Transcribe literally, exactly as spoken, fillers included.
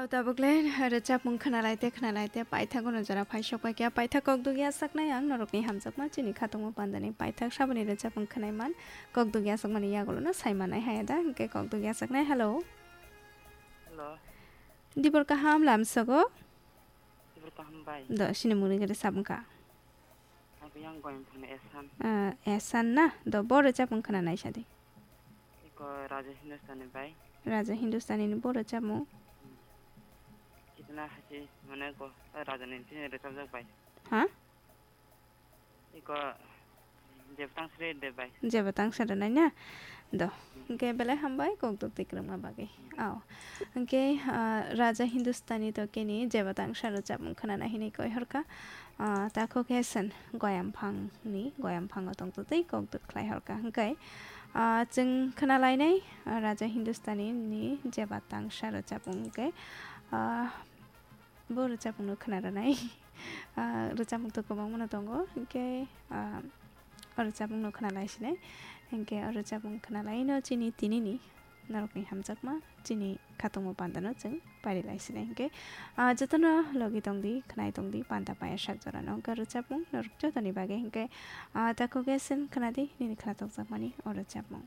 Tabuk le rwchapmung khwnalaite khwnalaite paithago no jora phaisok pai khe paithak kok dugya saknai ang norokni hamjakma chini khatungma pandani paithak saboni rwchapmung khwnai man kok dugya sakmani yagulo no sai manai haya da hwnkhe kok dugya saknai. Hello. Hello. Dibor kaham lamsogo. Dibor kaham bai. Do sini muni gede sabung kha. Ang yang goyang thangna esan. Ah, esan na? Do bo rwchapmung khwnanai sadi. Iko Raja Hindustani bai. Raja Hindustani ni bo rwchapmung. Kitna hasi mane ko Raja ni tini rwchapjak bai. Ha? Iko Jebotang sre de bai. Jebotang sre nai na? Do. Hwnkhe belai hambai kok duk tikrwngma bagwi. Ao. Hwnkhe, ah, Raja Hindustani to keni Jebotang sa rwchapmung khwnana hinwi koi horkha. Ah, takhuk he sen goyamphangni, goyamphang o tong twi kok duk khlai horkha. Hwnkhe, ah, chwng khwnalainai, ah, Raja Hindustani ni Jebotang sa rwchapmung hwnkhe, ah, Bo rwchapmungno khwna rwnai. Ah, rwchapmung to kwbangmano tongo, hinkhe, ah, o rwchapmungno khwna lai sinai. Hinkhe o rwchapmung khwna laino chini tinini norokni hamjakma, chini khatungma pandano chwng pari lai sinai. Hinkhe, ah, jotono logi tongdi, khwnai tongdi, panda paya sak jorano wngkha rwchapmung norok jotoni bagwi. Hinkhe, ah, takhuk he sen khwnadi, nini khwna tokjakmani o rwchapmung.